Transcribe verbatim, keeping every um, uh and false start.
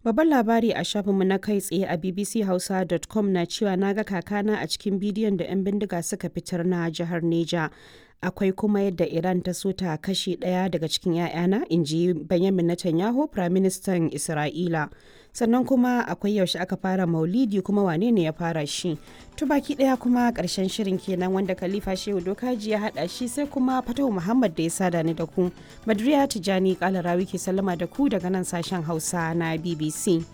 Babban labari a shafinmu na kai tsaye a bbchausa dot com na cewa na ga kakana a cikin bidiyon da 'yan bindiga suka fitar na jihar Neja. Akwai kuma yadda Iran ta so ta kashe ɗaya daga cikin 'ya'yana, in ji Benjamin Netanyahu, Firaministan Isra'ila. Sannan kuma akwai yaushe aka fara Maulidi, kuma wane ne ya fara shi. To, baki ɗaya kuma ƙarshen shirin kenan, wanda Khalifa Shehu Dokaji ya haɗa shi, sai kuma Fatahu Muhammad da ya sada ni da ku. Badriya Tijani Kalarawi ke sallama da ku daga nan sashen Hausa na B B C.